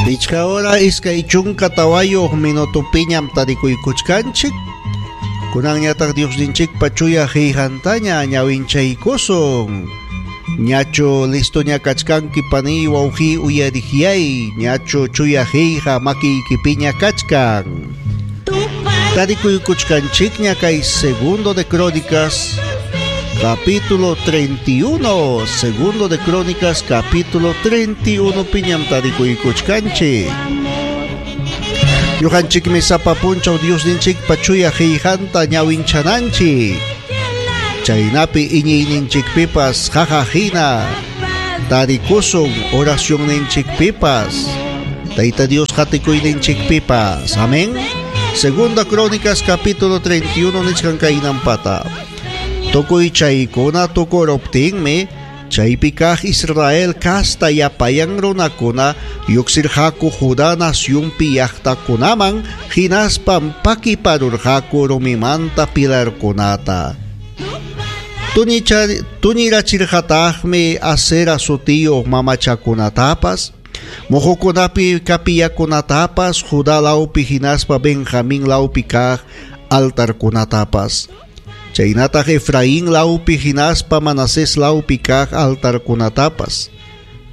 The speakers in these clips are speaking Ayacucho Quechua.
Pichqa hora 24 minutopiñam tarikuykuchkanchik. Kunanñataq Diosninchikpa chuya qillqantaña ñawinchaykusun. Ñachu listoña kachkanki paniy wawqiy uyariqyay, ñachu chuya qillqa makiykipiña kachkan. Tarikuykuchkanchikña kay Segundo de Crónicas, capítulo 31. Segundo de Crónicas, capítulo 31 piñam tarikuykuchkanchik. Ñuqanchikmi sapa punchaw Diosninchikpa chuya qillqanta ñawinchananchik. Chaynapi iñiyninchikpipas qaqa hina tarikusun oracionninchikpipas. Tayta Dios qatikuyninchikpipas. Amén. Segunda Crónicas capítulo 31 nichkan kaynampata. Tukuy chaykuna tukuruptinmi chaypi kaq Israel kasta llapayan runakuna lluqsirqaku Judá nacionpi llaqtakunaman hinaspam pakiparurqaku rumimanta pilarkunata. Tuñirachirqataqmi Asera sutiyuq mamachakunatapas, muqukunapi kapillakunatapas, Judá lawpi hinaspa Benjamín lawpi kaq altarkunatapas. Chaynataq Efraín lawpi hinaspa Manasés lawpi kaq altarkunatapas.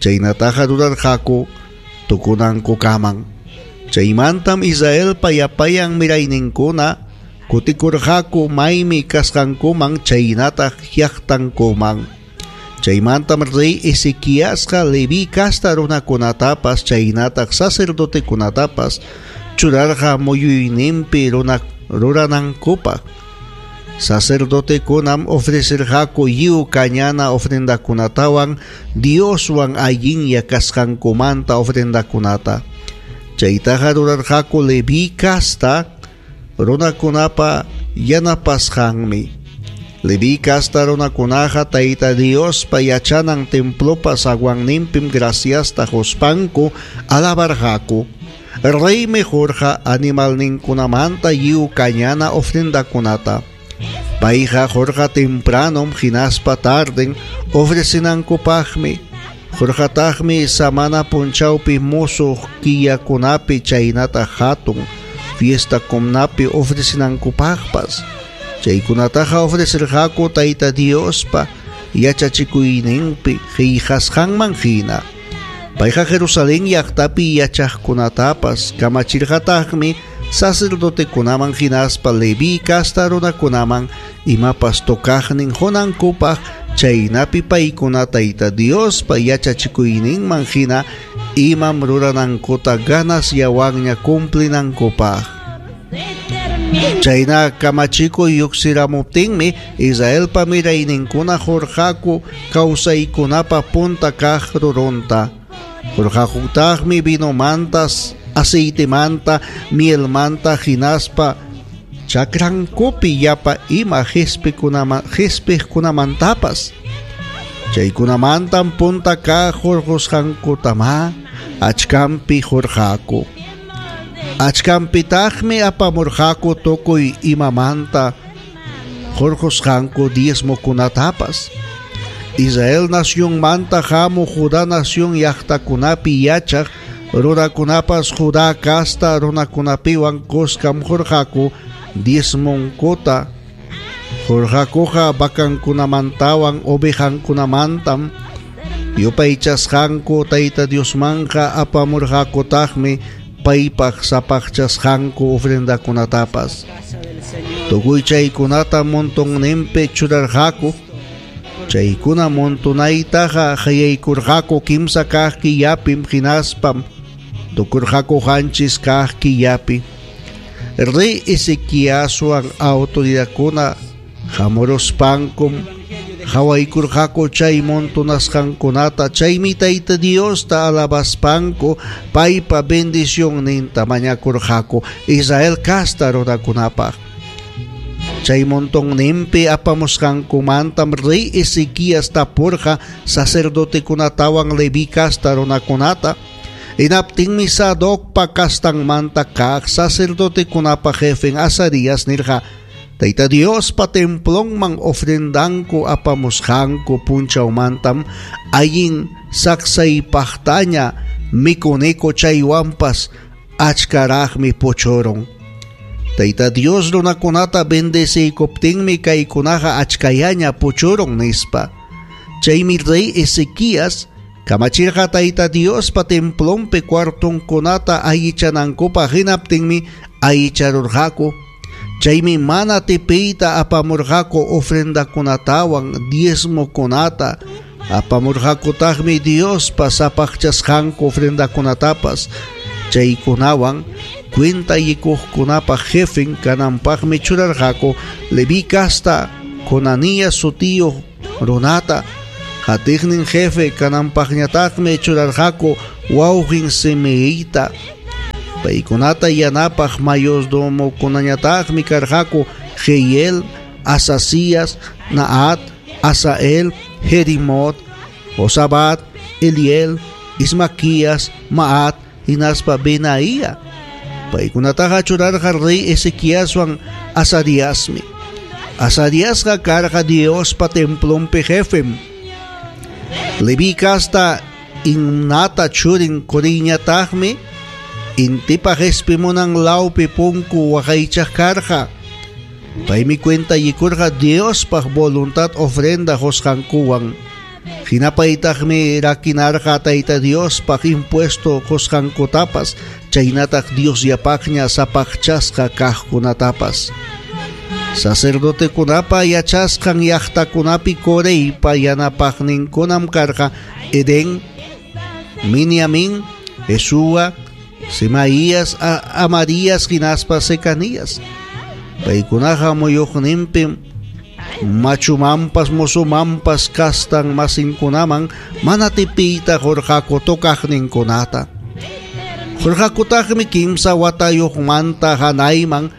Chaynataqa rurarqaku tukunankukaman. Chaymantam Israelpa llapayan mirayninkuna kutikurqaku maymi kasqankuman chaynataq llaqtankuman. Chaymantam rey Ezequiasqa Leví casta runakunatapas chaynataq sacerdotekunatapas churarqa muyuyninpi ruranankupaq. Sacerdotekunam ofrecerqaku lliw kañana ofrendakunatawan Dioswan allinlla kasqankumanta ofrendakunata. Chaytaqa rurarqaku Leví casta runakunapa yanapasqanmi. Leví casta runakunaqa Tayta Diospa yachanan templopa zaguanninpim graciasta quspanku alabarqaku. Reymi qurqa animalninkunamanta lliw kañana ofrendakunata. Payqa qurqa tempranom hinaspa tarden ofrecinankupaqmi. Qurqataqmi samana punchawpi musuq killakunapi chaynataq hatun fiestakunapi ofrecinankupaqpas. Chaykunataqa ofrecerqaku Tayta Diospa yachachikuyninpi qillqasqanman hina. Payqa Jerusalén llaqtapi yachaqkunatapas kamachirqataqmi sacerdotekunaman hinaspa Leví casta runakunaman imapas tocaqnin qunankupaq chaynapi paykuna Tayta Diospa yachachikuyninman hina imam ruranankuta ganasllawanña cumplinankupaq. Chayna kamachikuy lluqsiramuptinmi Israelpa mirayninkuna qurqaku kawsaykunapa punta kaq rurunta. Qurqakutaqmi vinomantas, aceitemanta, mielmanta hinaspa chakrankupi llapa ima qispiqkunamantapas. Chaykunamantam punta kaq hurqusqankutamá achkanpi hurqaku. Achkanpitaqmi apamurqaku tukuy imamanta hurqusqanku diezmokunatapas. Israel nacionmanta hamuq Judá nación llaqtakunapi yachaq runakunapas Judá casta runakunapiwan kuskam hurqaku diezmonkuta. Hurqakuqa vacankunamantawan ovejankunamantam yupaychasqanku Tayta Diosmanqa apamurqakutaqmi paypaq sapaqchasqanku ofrendakunatapas. Tukuy chaykunata montonninpi churarqaku. Chaykuna montonaytaqa qayaykurqaku kimsa kaq killapim hinaspam tukurqaku qanchis kaq killapi. Rey Ezequiaswan autoridadkuna hamuruspankum qhawaykurqaku chay montonasqankunata, chaymi Tayta Diosta alabaspanku paypa bendicionninta mañakurqaku Israel casta runakunapaq. Chay montonninpi apamusqankumantam rey Ezequías tapurqa sacerdotekunatawan Leví casta runakunata. Hinaptinmi Sadocpa castanmanta kaq sacerdotekunapa jefen Azarías nirqa: Tayta Diospa templonman ofrendanku apamusqanku punchawmantam allin saksaypaqtaña mikuniku chaywanpas achkaraqmi puchurun. Tayta Dios runakunata bendeciykuptinmi kaykunaqa achkallaña puchurun nispa. Chaymi rey Ezequías kamachirqa Tayta Diospa templonpi cuartonkunata allichanankupaq hinaptinmi allicharurqaku. Chaymi mana tipiyta apamurqaku ofrendakunatawan diezmokunata, apamurqakutaqmi Diospa sapaqchasqanku ofrendakunatapas. Chaykunawan cuentallikuqkunapa jefen kananpaqmi churarqaku Leví casta Conanías sutiyuq runata, qatiqnin jefe kananpaqñataqmi churarqaku wawqin Simeita. Paykunata yanapaq mayordomokunañataqmi karqaku Jeiel, Asasías, Naat, Asael, Jerimot, Josabat, Eliel, Ismaquías, Maat, hinaspa Benaía. Paykunataqa churarqa rey Ezequiaswan Azariasmi. Azariasqa karqa Diospa templonpi jefem. Leví casta Imnata churin Coriñataqmi intipa qespimunan lawpi punku waqaychaq karqa. Paymi cuentallikurqa Diospaq voluntad ofrenda qusqankuwan. Hinapaytaqmi rakinarqa Tayta Diospaq impuesto qusqankutapas, chaynataq Diosllapaqña sapaqchasqa kaqkunatapas. Sacerdotekunapa yachasqan llaqtakunapi Coreypa yanapaqninkunam karqa Edén, Miniamín, Jesúa, Semaías, Amarías hinaspa Secanías. Paykunaqa muyuqninpim machumanpas mozomanpas kastan masinkunaman mana tipiyta qurqaku tocaqninkunata. Qurqakutaqmi kimsa watayuqmanta hanayman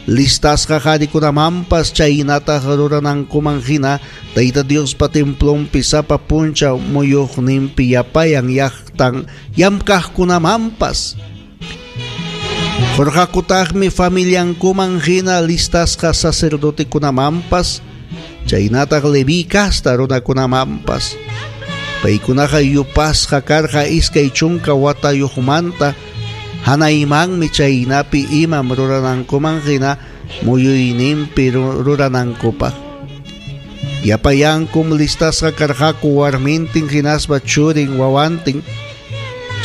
listasqa qarikunamanpas chaynataq ruranankuman hina Tayta Diospa templonpi sapa punchaw muyuqninpi yapayan llaqtan llamkaqkunamanpas. Qurqakutaqmi familiankuman hina listasqa sacerdotekunamanpas chaynataq Leví casta runakunamanpas. Paykunaqa yupasqa karqa 20 watayuqmanta hanaymanmi chaynapi imam ruranankuman hina muyuyninpi ruranankupaq. Yapayankum listasqa karqaku warmintin hinaspa churin wawantin.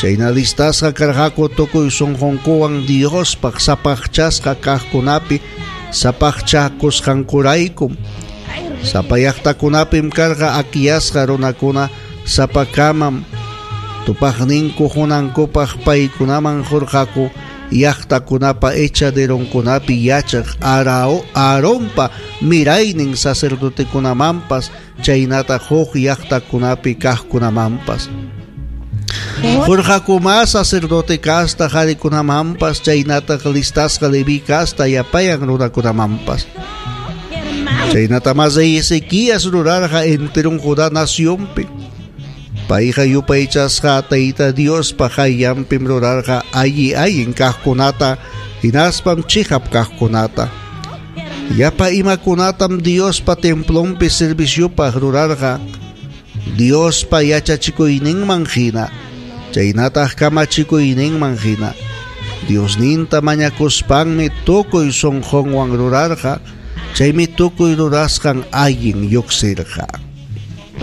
Chayna listasqa karqaku tukuy sunqunkuwan Diospaq sapaqchasqa kaqkunapi sapaqchakusqankuraykum. Sapa llaqtakunapim karqa akiyasqa runakuna sapakamam tupaqninku hunankupaq paykunaman qurqaku llaqtakunapa echaderonkunapi yachaq Aaronpa miraynin sacerdotekunamanpas chaynataq huk llaqtakunapi kaqkunamanpas. Qurqakuma sacerdote casta qarikunamanpas chaynataq listasqa Leví casta yapayan runakunamanpas. Chaynata mas rey Ezequías rurarqa enteron Judá nacionpi. Payqa yupaychasqa Tayta Diospa qayllanpim rurarqa alli allin kaqkunata hinaspam chiqap kaqkunata. Llapa imakunatam Diospa templonpi serviciopaq rurarqa Diospa yachachikuyninman hina, chaynataq kamachikuyninman hina. Diosninta mañakuspanmi tukuy sunqunwan rurarqa, chaymi tukuy rurasqan allin lluqsirqa.